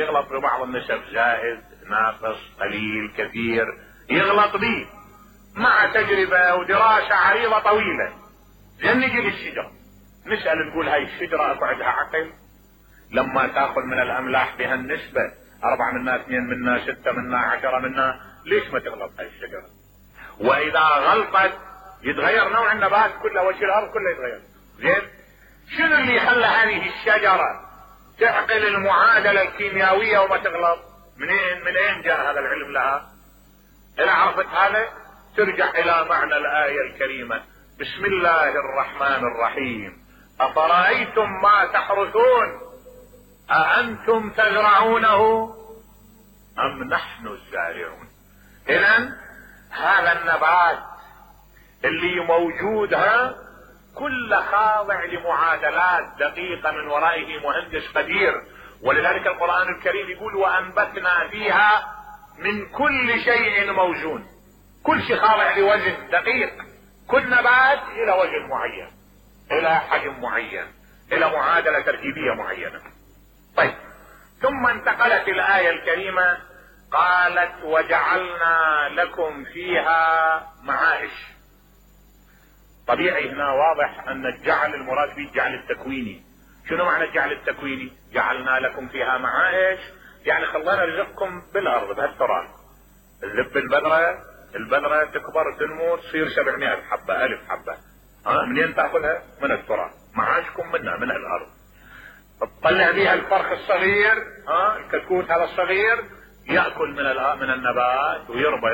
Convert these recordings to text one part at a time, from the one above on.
يغلط ببعض النسب، زائد ناقص قليل كثير، يغلط به مع تجربة ودراسة عريضة طويلة. لن نجي للشجرة نسأل نقول هاي الشجرة اكو عندها عقل؟ لما تاخذ من الاملاح بهالنسبة 4 منا 2 منا 6 منا 10 منا، ليش ما تغلط هاي الشجرة؟ واذا غلطت يتغير نوع النبات كله، وجه الارض كله يتغير. زين، شنو اللي خلى هذه الشجرة تعقل المعادلة الكيميائية وما تغلط؟ منين جاء هذا العلم لها؟ اذا عرفت هذا ترجع الى معنى الآية الكريمة: بسم الله الرحمن الرحيم، افرأيتم ما تحرثون أأنتم تزرعونه ام نحن الزارعون. اذا هذا النبات اللي موجود كل خاضع لمعادلات دقيقة من ورائه مهندس قدير. ولذلك القرآن الكريم يقول: وأنبتنا فيها من كل شيء موزون. كل شيء خاضع لوزن دقيق، كل نبات الى وزن معين، الى حجم معين، الى معادلة تركيبية معينة. طيب، ثم انتقلت الآية الكريمة قالت: وجعلنا لكم فيها معايش. طبيعي هنا واضح ان الجعل المراد به الجعل التكويني. شنو معنى الجعل التكويني؟ جعلنا لكم فيها معايش يعني خلينا رزقكم بالارض بهالتراب. الذب البذرة تكبر تنمو تصير 700 حبة 1000 حبة، منين تاخذها؟ من التراب. معاشكم منها من الارض. تطلع بها الفرخ الصغير، الكتكوت هذا الصغير يأكل من النبات ويربى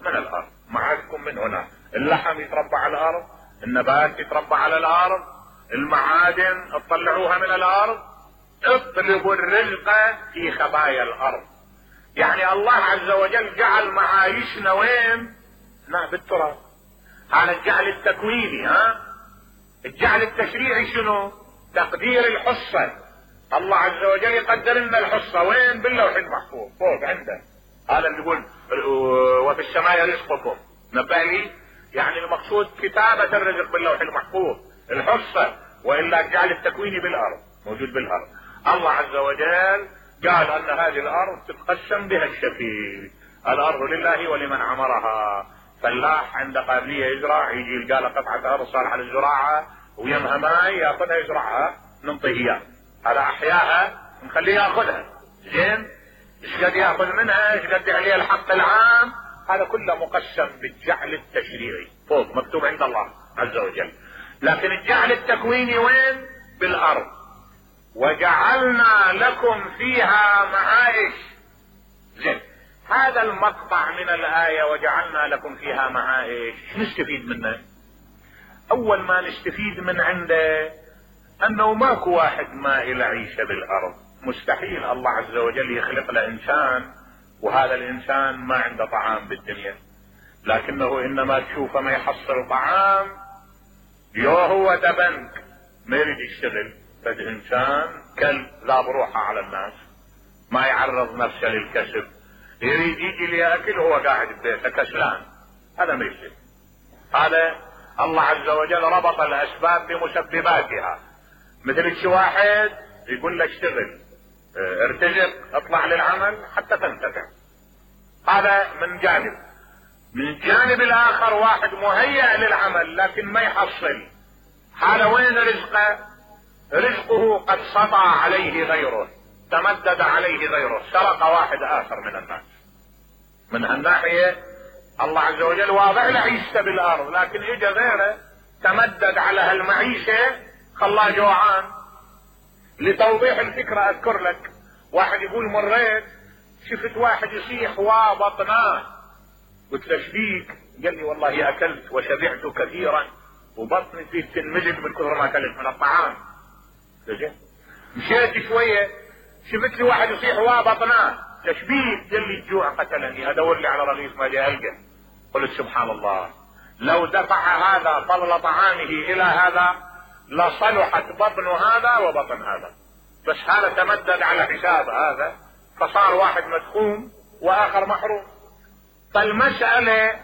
من الارض. معاشكم من هنا. اللحم يتربى على الارض، النبات يتربى على الارض، المعادن تطلعوها من الارض. اطلبوا الرزق في خبايا الارض. يعني الله عز وجل جعل معايشنا وين؟ بالتراب. هذا الجعل التكويني. الجعل التشريعي شنو؟ تقدير الحصة. الله عز وجل يقدر لنا الحصة وين؟ باللوح المحفوظ فوق عنده. هذا اللي يقول: وفي السماء رزقكم. نبه لي يعني المقصود كتابة الرزق باللوح المحفوظ، الحصة. والا الجعل التكويني بالارض موجود بالارض. الله عز وجل قال ان هذه الارض تتقسم بها الشفير. الارض لله ولمن عمرها. فلاح عنده قابلية يزرع، يجي يلقى له قطعة ارض صالحة للزراعة ويمها ماي ياخذها يزرعها، ننطيه اياه. هذا احياها نخليه ياخذها. زين، ايش قد ياخذ منها؟ ايش قد عليه الحق العام؟ هذا كله مقسم بالجعل التشريعي فوق مكتوب عند الله عز وجل. لكن الجعل التكويني وين؟ بالارض. وجعلنا لكم فيها معايش. زين، هذا المقطع من الآية وجعلنا لكم فيها معايش نستفيد منه. اول ما نستفيد من عنده انه ماكو واحد ما إلى عيشة بالارض. مستحيل الله عز وجل يخلق له انسان وهذا الانسان ما عنده طعام بالدنيا، لكنه انما تشوفه ما يحصل طعام هو دبنك ما يريد يشتغل. فد انسان كلب لا بروحه على الناس، ما يعرض نفسه للكسب، يريد يجي ليأكل هو قاعد ببيته كسلان، هذا ما يصير. هذا الله عز وجل ربط الاسباب بمسبباتها. مثل شي واحد يقول له اشتغل، ارتزق، اطلع للعمل حتى تنتفع. هذا من جانب. من الجانب الاخر واحد مهيأ للعمل لكن ما يحصل. هذا وين رزقه؟ رزقه قد سطع عليه غيره، تمدد عليه غيره، سرق واحد اخر من الناس. من هالناحية الله عز وجل واضع له عيشته بالارض، لكن اجى غيره تمدد على هالمعيشة خلاه جوعان. لتوضيح الفكرة اذكر لك واحد يقول: مريت شفت واحد يصيح وبطناه، قلت له: شبيك؟ قال لي: والله اكلت وشبعت كثيرا وبطني فيه تنمجد من كثر ما اكلت من الطعام. مشيت شوية شفت لي واحد يصيح وبطناه، شبيك؟ قال لي: الجوع قتلني، ادور لي على رغيف ما لي القى. قلت: سبحان الله، لو دفع هذا فضل طعامه الى هذا لصلحت بطن هذا وبطن هذا، بس هذا تمدد على حساب هذا فصار واحد مدخوم واخر محروم. فالمسألة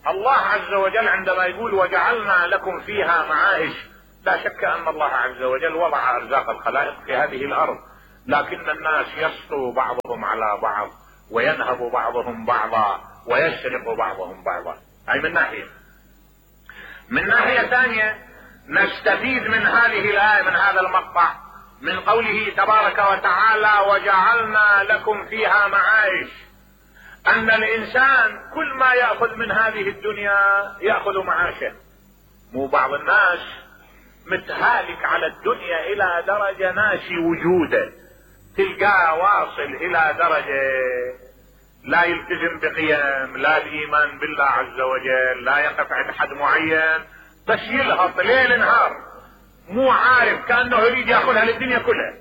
الله عز وجل عندما يقول وجعلنا لكم فيها معايش، لا شك ان الله عز وجل وضع ارزاق الخلائق في هذه الارض، لكن الناس يسطو بعضهم على بعض وينهب بعضهم بعضا ويسرق بعضهم بعضا. اي من ناحية. من ناحية ثانية نستفيد من هذه الآية، من هذا المقطع، من قوله تبارك وتعالى وجعلنا لكم فيها معايش، ان الانسان كل ما يأخذ من هذه الدنيا يأخذ معاشه. مو بعض الناس متهالك على الدنيا الى درجة ناسي وجوده، تلقاه واصل الى درجة لا يلتزم بقيم، لا بإيمان بالله عز وجل، لا يقف عند حد معين، بس يلهط ليل نهار، مو عارف، كأنه يريد يأخذها للدنيا كلها.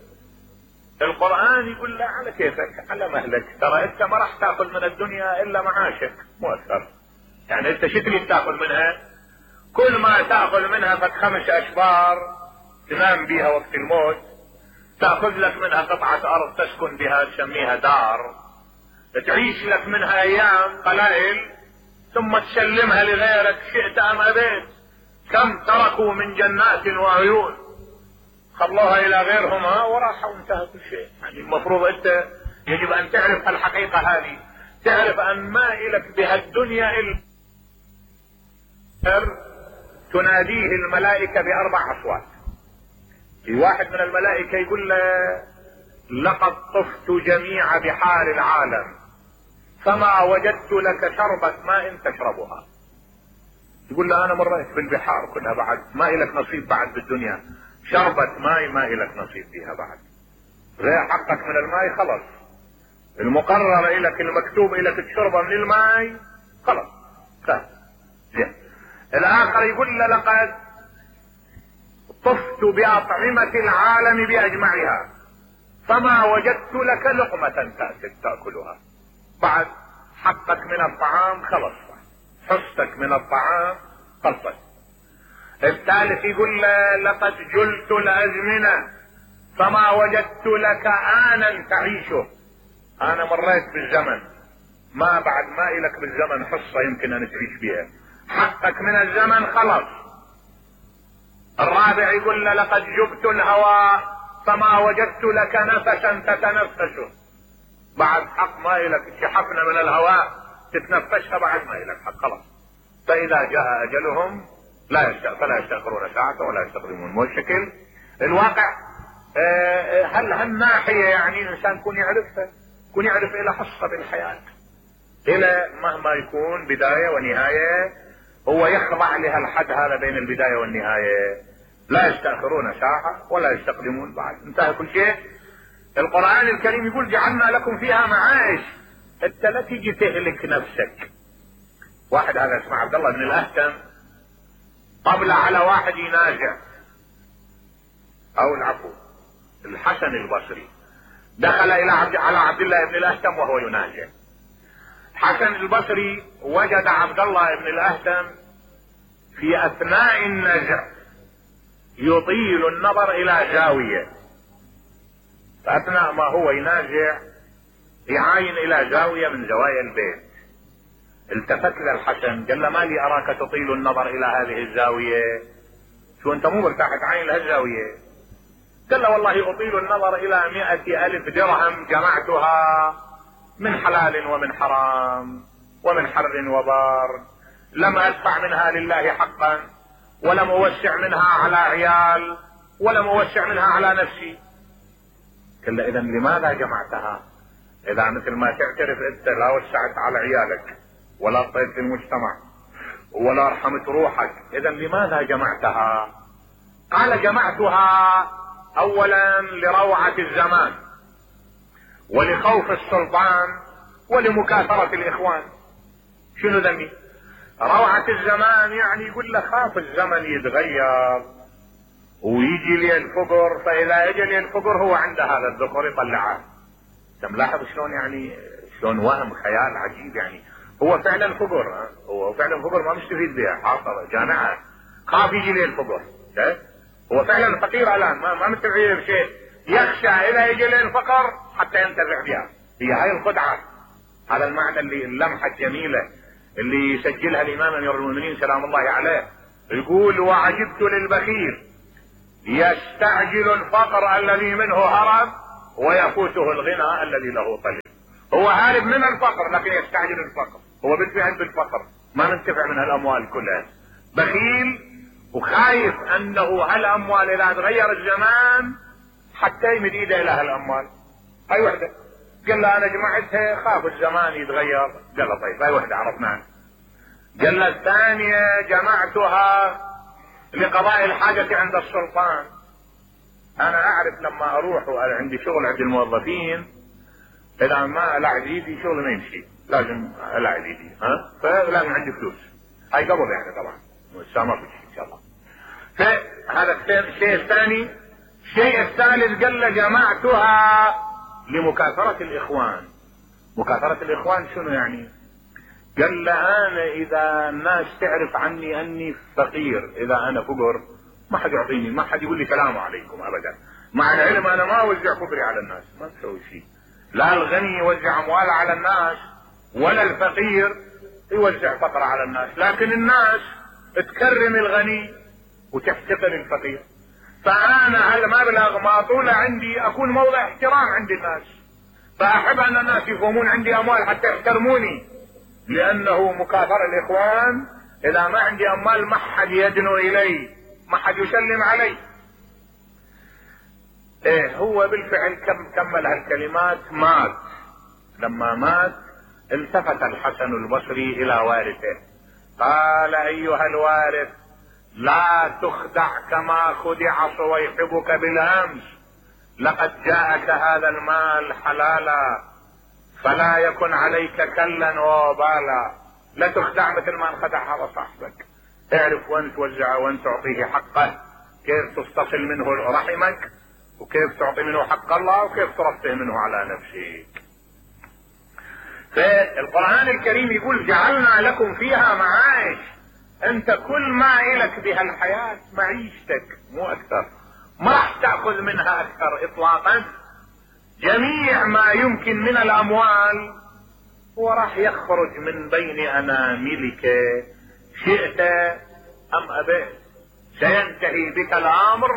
القرآن يقول لا، على كيفك، على مهلك، ترى انت ما راح تاخذ من الدنيا الا معاشك، مو اكثر. يعني انت شو تريد تاخذ منها؟ كل ما تاخذ منها فك 5 اشبار تنام بيها وقت الموت، تاخذ لك منها قطعة ارض تسكن بها تسميها دار، تعيش لك منها ايام قلائل ثم تسلمها لغيرك شئت ام ابيت. كم تركوا من جنات وعيون خلوها الى غيرهم وراحوا وانتهى كل شيء. يعني المفروض انت يجب ان تعرف الحقيقة هذه، تعرف ان ما الك بها الدنيا الا تناديه الملائكة ب4 اصوات. في واحد من الملائكة يقول له لقد طفت جميع بحار العالم فما وجدت لك شربة ماء تشربها. يقول له انا مريت بالبحار كلها، بعد ما الك نصيب بعد بالدنيا، شربة ماء ما الك نصيب فيها بعد، غير حقك من الماء خلص، المقرر الك المكتوب الك تشربه من الماء خلص سهل. الاخر يقول له لقد طفت بأطعمة العالم بأجمعها فما وجدت لك لقمة تأكلها، بعد حقك من الطعام خلص، حصتك من الطعام خلصت. الثالث يقول لقد جلت الأزمنة فما وجدت لك آنا تعيشه، أنا مريت بالزمن، ما بعد ما إلك بالزمن حصة يمكن أن تعيش بها، حقك من الزمن خلص. الرابع يقول لقد جبت الهواء فما وجدت لك نفسا تتنفسه، بعد حق ما إلك شحفنا من الهواء تتنفسها، بعد ما إلك حق خلاص. فإذا جاء أجلهم فلا يستأخرون ساعة ولا يستقدمون. مو الشكل الواقع. هل هالناحية يعني الإنسان يكون يعرفها، يكون يعرف إلى حصة بالحياة، إلى مهما يكون بداية ونهاية هو يخضع لها الحد هذا بين البداية والنهاية، لا يستأخرون ساعة ولا يستقدمون، بعد انتهى كل شيء. القرآن الكريم يقول جعلنا لكم فيها معايش، انت لا تيجي تهلك نفسك. واحد هذا اسمه عبد الله بن الأهتم قبل على واحد ينازع، او العفو الحسن البصري دخل الى على عبد الله بن الأهتم وهو ينازع. حسن البصري وجد عبد الله بن الأهتم في اثناء النزع يطيل النظر الى زاوية، فاثناء ما هو ينازع يعاين الى زاوية من زوايا البيت. التفت للحسن قال له ما لي اراك تطيل النظر الى هذه الزاوية، شو انت مو مرتاح تعاين لهالزاوية؟ قال له والله اطيل النظر الى 100,000 درهم جمعتها من حلال ومن حرام ومن حر وبار، لم ادفع منها لله حقا ولم اوسع منها على عيال ولم اوسع منها على نفسي. قال له اذا لماذا جمعتها؟ اذا مثل ما تعترف انت لا وسعت على عيالك ولا طيت في المجتمع ولا رحمت روحك، اذا لماذا جمعتها؟ قال جمعتها اولا لروعة الزمان ولخوف السلطان ولمكاثرة الاخوان. شنو ذنبي؟ روعة الزمان يعني يقول لك خاف الزمن يتغير ويجي لي الفقر، فاذا اجى لي الفقر هو عنده هذا الذكر يطلعه. انت ملاحظ شلون يعني شلون وهم خيال عجيب؟ يعني هو فعلا فقر، هو فعلا فقر ما مستفيد بها، حاصل جامعة خاف يجي لي الفقر، هو فعلا فقير الان ما مستفيد بشيء، يخشى اذا يجي لي الفقر حتى ينتفع بها. هي هاي الخدعة، هذا المعنى اللي اللمحة الجميلة اللي يسجلها الامام امير المؤمنين سلام الله عليه، يقول وعجبت للبخيل يستعجل الفقر الذي منه هرب ويفوته الغنى الذي له طلب. هو هارب من الفقر لكن يستعجل الفقر، هو بالفعل بالفقر، ما ننتفع من هالاموال كلها، بخيل وخايف انه هالاموال اذا تغير الزمان حتى يمد ايده الى هالاموال. هاي وحده قال له انا جمعتها خاف الزمان يتغير، قال له طيب هاي وحده عرفناها. قال له الثانية جمعتها لقضاء الحاجة عند السلطان، انا اعرف لما اروح وعندي شغل عند الموظفين اذا ما العب ايدي شغل ما يمشي، لازم العب ايدي، فلازم عندي فلوس. هاي قبض يعني طبعا، لسه ما في شيء ان شاء الله. فهذا الشيء الثاني. الشيء الثالث قال له جمعتها لمكاثرة الاخوان. مكاثرة الاخوان شنو يعني؟ قال له انا اذا الناس تعرف عني اني فقير، اذا انا فقر ما حد يعطيني، ما حد يقول لي سلام عليكم ابدا، مع العلم انا ما اوزع فقري على الناس، ما اسوي شيء. لا الغني يوزع امواله على الناس ولا الفقير يوزع فقره على الناس، لكن الناس تكرم الغني وتحتقر الفقير. فانا هالمبلغ ما طوله عندي اكون موضع احترام عند الناس، فاحب ان الناس يفهمون عندي اموال حتى يحترموني، لانه مكاثر الاخوان اذا ما عندي اموال ما حد يدنو الي، ما حد يسلم علي. ايه هو بالفعل كمل هالكلمات مات. لما مات التفت الحسن البصري الى وارثه قال ايها الوارث لا تخدع كما خدع صويحبك بالامس، لقد جاءك هذا المال حلالا فلا يكن عليك كلا وبالا. لا تخدع مثل ما انخدع هذا صاحبك، اعرف وين توزعه وين تعطيه حقه، كيف تستصل منه رحمك وكيف تعطي منه حق الله وكيف ترفه منه على نفسك. فالقرآن الكريم يقول جعلنا لكم فيها معايش، انت كل ما الك بها الحياة معيشتك مو اكثر، ما راح تأخذ منها اكثر اطلاقا. جميع ما يمكن من الاموال هو راح يخرج من بين اناملك شئت ام ابيت، سينتهي بك الامر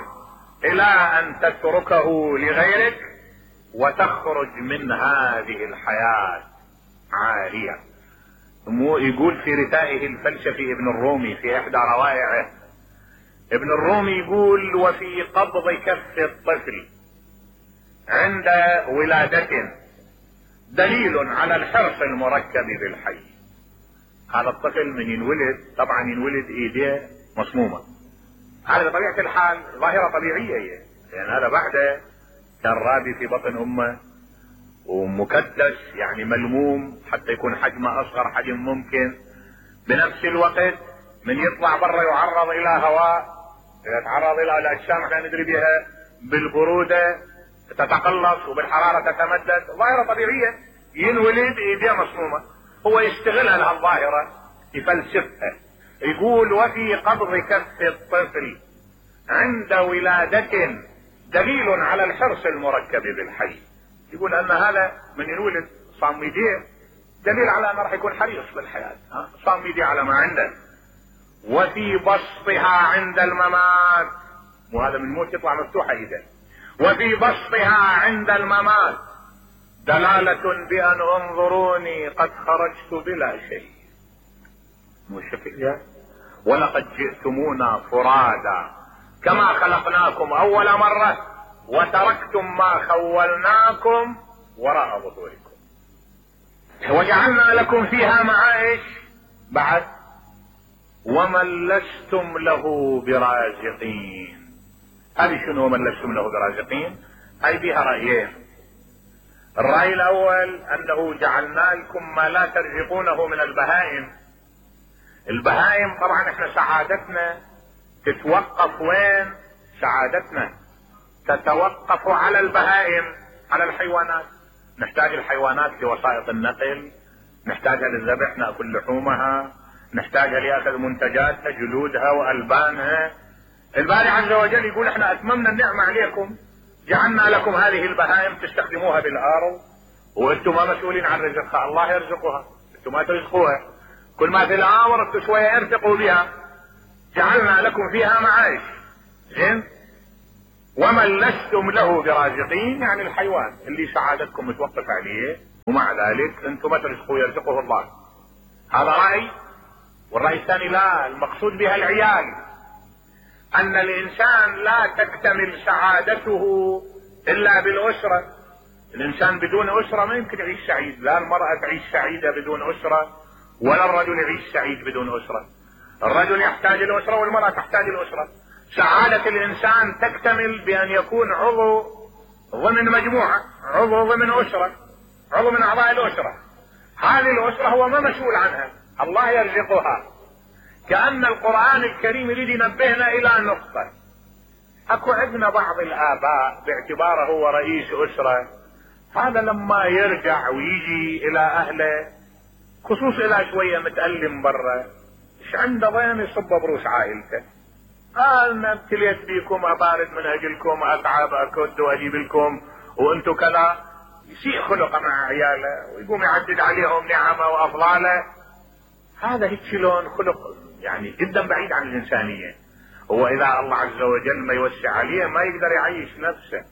الى ان تتركه لغيرك وتخرج من هذه الحياة عارية. يقول في رثائه الفلسفي ابن الرومي في احدى روائعه، ابن الرومي يقول وفي قبض كف الطفل عند ولادته دليل على الحرص المركب بالحي. هذا الطفل من ينولد طبعا ينولد ايديه مصمومة، هذا بطبيعة الحال ظاهرة طبيعية هي، لان هذا بعده كان رابي في بطن امه ومكدس يعني ملموم حتى يكون حجمه اصغر حجم ممكن. بنفس الوقت من يطلع برا يعرض الى هواء، يتعرض الى الاجسام احنا ندري بها بالبرودة تتقلص وبالحرارة تتمدد، ظاهرة طبيعية. ينولد ايديه مصمومة، هو يستغلها لهالظاهرة يفلسفها. يقول وفي قبض كف الطفل عند ولادة دليل على الحرص المركب بالحي. يقول ان هذا من ينولد صام ايديه دليل على انه راح يكون حريص بالحياة، صام ايديه على ما عنده. وفي بسطها عند الممات، وهذا من موت يطلع مفتوحة ايده، وفي بسطها عند الممات دلالة بأن انظروني قد خرجت بلا شيء. مو شكل ولقد جئتمونا فرادا كما خلقناكم اول مرة وتركتم ما خولناكم وراء ظهوركم وجعلنا لكم فيها معايش بعد ومن لستم له برازقين. هذه شنو من لستم له برازقين؟ هاي فيها رأيين. الرأي الاول انه جعلنا لكم ما لا ترزقونه من البهائم. البهائم طبعا احنا سعادتنا تتوقف وين؟ سعادتنا تتوقف على البهائم، على الحيوانات. نحتاج الحيوانات لوسائط النقل، نحتاجها للذبح نأكل لحومها، نحتاجها لأخذ منتجاتها جلودها وألبانها. الباري عز وجل يقول احنا اتممنا النعمة عليكم، جعلنا لكم هذه البهائم تستخدموها بالارض وانتم ما مسؤولين عن رزقها، الله يرزقها، انتم ما ترزقوها. كل ما في الامر انتم شوية ارتقوا بها. جعلنا لكم فيها معايش. زين؟ ومن لستم له برازقين، يعني الحيوان اللي سعادتكم متوقف عليه، ومع ذلك انتم ما ترزقوا يرزقه الله. هذا رأي. والرأي الثاني لا، المقصود بها العيال، ان الانسان لا تكتمل سعادته الا بالاسرة. الانسان بدون اسرة ما يمكن يعيش سعيد، لا المرأة تعيش سعيدة بدون اسرة ولا الرجل يعيش سعيد بدون اسرة. الرجل يحتاج الاسرة والمرأة تحتاج الاسرة. سعادة الانسان تكتمل بان يكون عضو ضمن مجموعة، عضو ضمن اسرة، عضو من اعضاء الاسرة. هذه الاسرة هو ما مسؤول عنها، الله يرزقها. كأن القرآن الكريم يريد ينبهنا الى نقطة. اكو عندنا بعض الاباء باعتباره هو رئيس اسرة، هذا لما يرجع ويجي الى اهله خصوص الى شوية متألم برا، ايش عنده ضين يصب بروس عائلته. انا ابتليت بيكم، ابارد من اجلكم، اتعب اكد واجيب لكم وانتو كذا. يسيء خلقه مع عياله ويقوم يعدد عليهم نعمه وافضاله. هذا هيك لون خلق يعني جدا بعيد عن الانسانيه. هو اذا الله عز وجل ما يوسع عليه ما يقدر يعيش نفسه،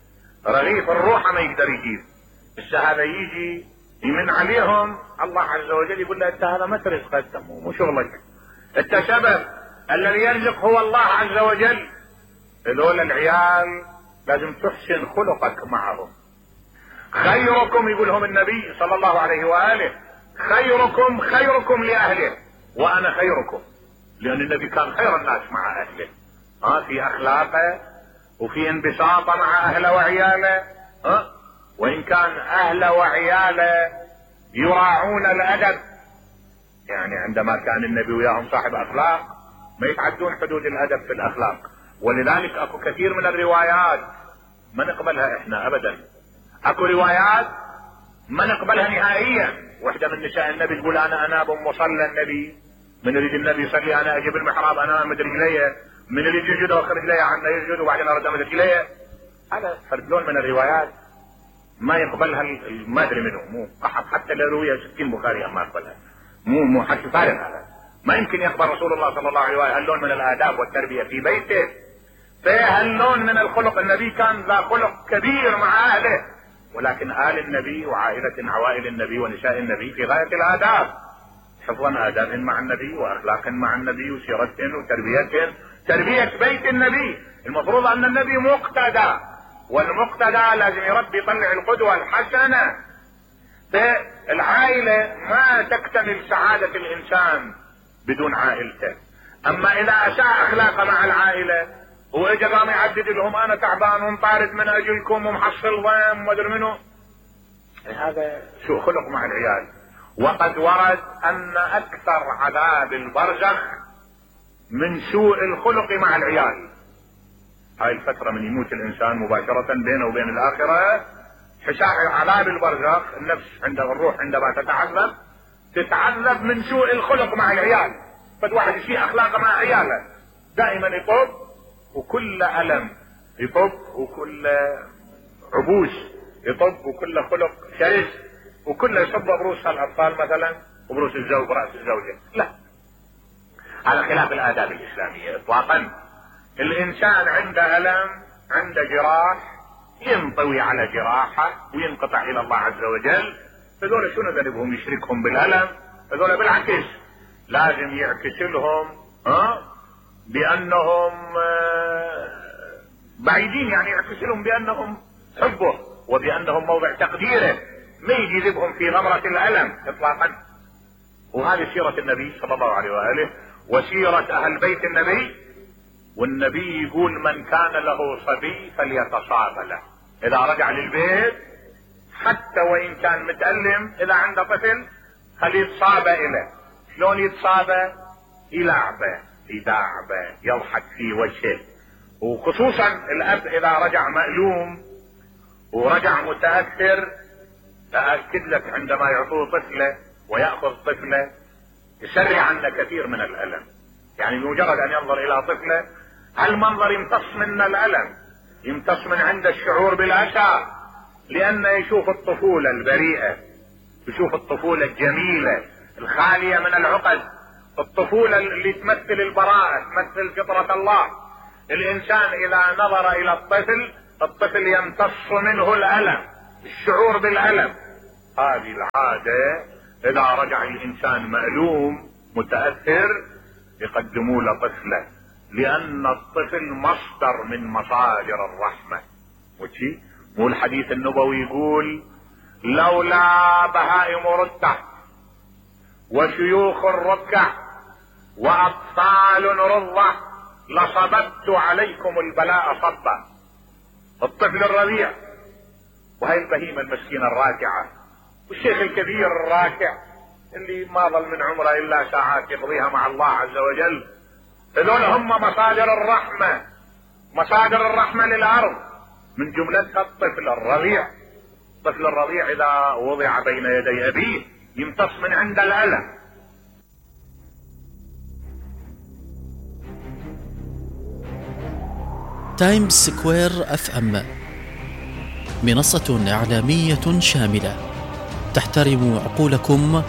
رغيف الروح ما يقدر يجيب. بس هذا يجي يمن عليهم، الله عز وجل يقول له انت هذا ما ترزق، مو شغلك، انت سبب، الذي يرزق هو الله عز وجل. هذول العيال لازم تحسن خلقك معهم. خيركم، يقولهم النبي صلى الله عليه وآله، خيركم خيركم لأهله وأنا خيركم. لأن النبي كان خير الناس مع أهله، في أخلاقه وفي انبساطه مع أهله وعياله. وإن كان أهله وعياله يراعون الأدب، يعني عندما كان النبي وياهم صاحب أخلاق ما يتعدون حدود الأدب في الأخلاق. ولذلك أكو كثير من الروايات ما نقبلها إحنا أبدا. أكو روايات ما نقبلها نهائيا. واحدة من نساء النبي تقول أنا أناب مصلى النبي، من يريد النبي يصلي أنا أجيب المحراب أنا أمد رجليه، من يريد يسجد أخر رجليه عنا يسجد وبعدين أرد أمد رجليه. هذا فرد لون من الروايات ما يقبلها، ما أدري منه، مو حتى لو روية 60 بخاري ما يقبلها، مو حكي فارغ هذا. ما يمكن يقبل رسول الله صلى الله عليه وآله هاللون من الآداب والتربية في بيته. فهاللون من الخلق، النبي كان ذا خلق كبير مع أهله، ولكن آل النبي عوائل النبي ونساء النبي في غاية الآداب، حفظا آداب مع النبي وأخلاق مع النبي وسيرة وتربية، تربية بيت النبي. المفروض أن النبي مقتدى، والمقتدى لازم يربي يطلع القدوة الحسنة. فالعائلة ما تكتمل سعادة الإنسان بدون عائلته. أما إذا أساء أخلاقه مع العائلة واجا قام يعدد لهم انا تعبان ومطارد من اجلكم ومحصل ضيم ومدري منه، هذا سوء خلق مع العيال. وقد ورد ان اكثر عذاب البرزخ من سوء الخلق مع العيال. هاي الفترة من يموت الانسان مباشرة بينه وبين الاخرة، حساء عذاب البرزخ، النفس عند الروح عندما تتعذب من سوء الخلق مع العيال. فد واحد يسيء اخلاقه مع عياله، دائما يطب وكل ألم يطب وكل عبوس يطب وكل خلق شرس وكل يصب بروس الأطفال مثلا وبروس الزوج برأس الزوجة. لا، على خلاف الآداب الإسلامية إطلاقا. الإنسان عنده ألم، عنده جراح، ينطوي على جراحه وينقطع إلى الله عز وجل. فذولا شنو ذنبهم يشركهم بالألم؟ فذولا بالعكس لازم يعكس لهم بأنهم بعيدين، يعني يعكس لهم بأنهم حبه وبأنهم موضع تقديره، ما يجي يذبهم في غمرة الألم إطلاقا. وهذه سيرة النبي صلى الله عليه وآله وسيرة أهل بيت النبي. والنبي يقول من كان له صبي فليتصاب له، إذا رجع للبيت حتى وإن كان متألم، إذا عنده طفل خليه يتصاب إليه. شلون يتصاب؟ يلعبه، يداعبه، يضحك في وجهه. وخصوصا الأب إذا رجع مألوم ورجع متأثر، أأكد لك عندما يعطوه طفله ويأخذ طفله يسرع عنه كثير من الألم. يعني بمجرد أن ينظر إلى طفله هالمنظر يمتص من الألم، يمتص من عنده الشعور بالأسى، لأنه يشوف الطفولة البريئة، يشوف الطفولة الجميلة الخالية من العقد، الطفولة اللي تمثل البراءة، تمثل فطرة الله. الإنسان إذا نظر إلى الطفل الطفل يمتص منه الألم، الشعور بالألم. هذه العادة إذا رجع الإنسان مألوم متأثر يقدموا له طفله، لأن الطفل مصدر من مصادر الرحمة. وشي مو الحديث النبوي يقول لولا بهائم رتة وشيوخ الركع وأطفال رضة لصببت عليكم البلاء صبا. الطفل الرضيع وهي البهيمة المسكينة الراكعة والشيخ الكبير الراكع اللي ما ظل من عمره إلا ساعات يقضيها مع الله عز وجل، هذول هم مصادر الرحمة، مصادر الرحمة للأرض، من جملتها الطفل الرضيع. الطفل الرضيع إذا وضع بين يدي أبيه يمتص من عند الألم. تايمز سكوير FM منصة إعلامية شاملة تحترم عقولكم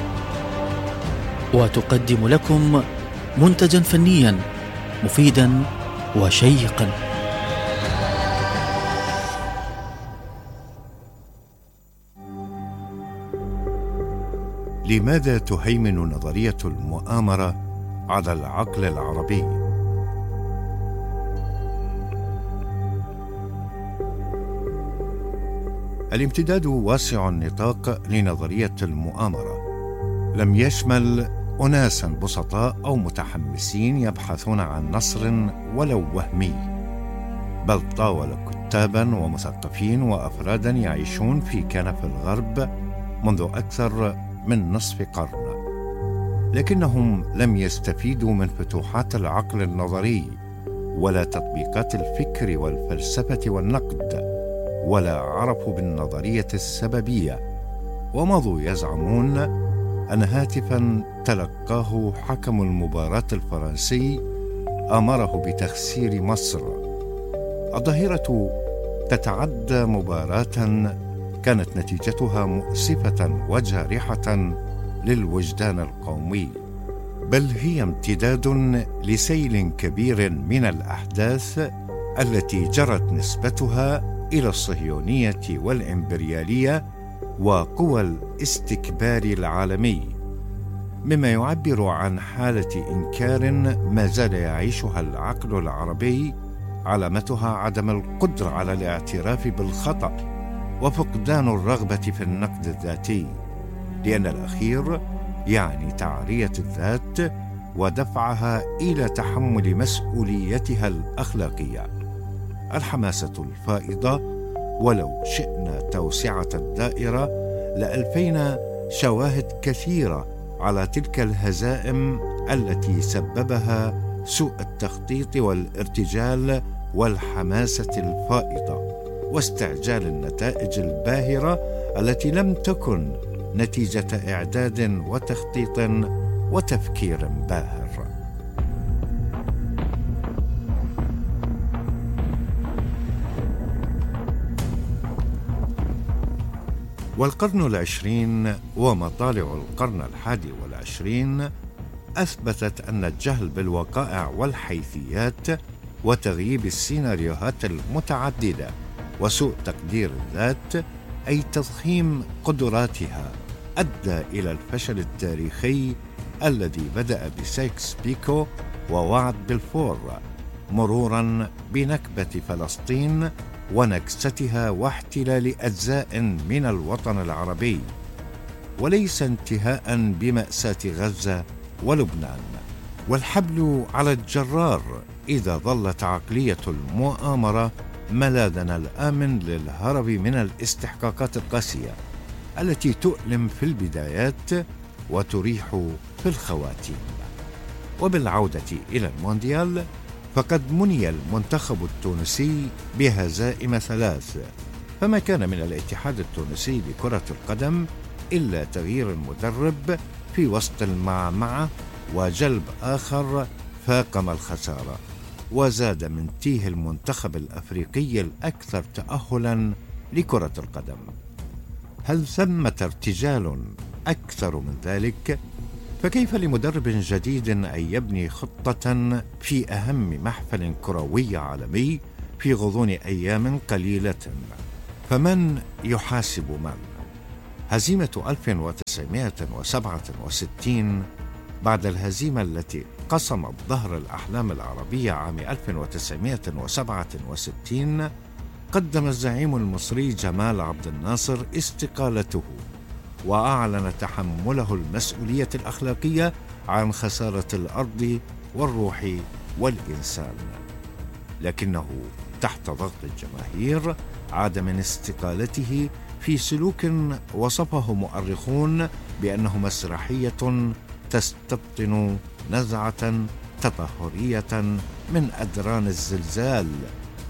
وتقدم لكم منتجا فنيا مفيدا وشيقا. لماذا تهيمن نظرية المؤامرة على العقل العربي؟ الامتداد واسع النطاق لنظرية المؤامرة، لم يشمل أناسا بسطاء أو متحمسين يبحثون عن نصر ولو وهمي، بل طاول كتابا ومثقفين وأفرادا يعيشون في كنف الغرب منذ أكثر من نصف قرن، لكنهم لم يستفيدوا من فتوحات العقل النظري ولا تطبيقات الفكر والفلسفة والنقد، ولا عرفوا بالنظرية السببية، ومضوا يزعمون أن هاتفا تلقاه حكم المباراة الفرنسي أمره بتخسير مصر. الظاهرة تتعدى مباراة كانت نتيجتها مؤسفة وجارحة للوجدان القومي، بل هي امتداد لسيل كبير من الأحداث التي جرت نسبتها إلى الصهيونية والإمبريالية وقوى الاستكبار العالمي، مما يعبر عن حالة إنكار ما زال يعيشها العقل العربي، علامتها عدم القدرة على الاعتراف بالخطأ وفقدان الرغبة في النقد الذاتي، لأن الأخير يعني تعرية الذات ودفعها إلى تحمل مسؤوليتها الأخلاقية. الحماسة الفائضة، ولو شئنا توسعة الدائرة لألفينا شواهد كثيرة على تلك الهزائم التي سببها سوء التخطيط والارتجال والحماسة الفائضة واستعجال النتائج الباهرة التي لم تكن نتيجة إعداد وتخطيط وتفكير باهر. والقرن العشرين ومطالع القرن 21 أثبتت أن الجهل بالوقائع والحيثيات وتغييب السيناريوهات المتعددة وسوء تقدير الذات أي تضخيم قدراتها أدى إلى الفشل التاريخي الذي بدأ بسايكس بيكو ووعد بلفور، مرورا بنكبة فلسطين ونكستها واحتلال أجزاء من الوطن العربي، وليس انتهاء بمأساة غزة ولبنان. والحبل على الجرار إذا ظلت عقلية المؤامرة ملاذنا الآمن للهرب من الاستحقاقات القاسية التي تؤلم في البدايات وتريح في الخواتيم. وبالعودة إلى المونديال، فقد مني المنتخب التونسي بهزائم 3، فما كان من الاتحاد التونسي لكرة القدم إلا تغيير المدرب في وسط المعمعة وجلب آخر فاقم الخسارة، وزاد من تيه المنتخب الأفريقي الأكثر تأهلاً لكرة القدم. هل ثمة ارتجال أكثر من ذلك؟ فكيف لمدرب جديد أن يبني خطة في أهم محفل كروي عالمي في غضون أيام قليلة. فمن يحاسب من؟ هزيمة 1967 بعد الهزيمة التي قصمت ظهر الأحلام العربية عام 1967 قدم الزعيم المصري جمال عبد الناصر استقالته، وأعلن تحمله المسؤولية الأخلاقية عن خسارة الأرض والروح والإنسان. لكنه تحت ضغط الجماهير عاد من استقالته في سلوك وصفه مؤرخون بأنه مسرحية تستبطن نزعة تطهرية من أدران الزلزال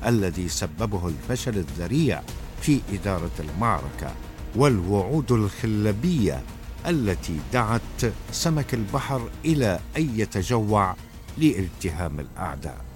الذي سببه الفشل الذريع في إدارة المعركة والوعود الخلبية التي دعت سمك البحر إلى أن يتجوع لالتهام الأعداء.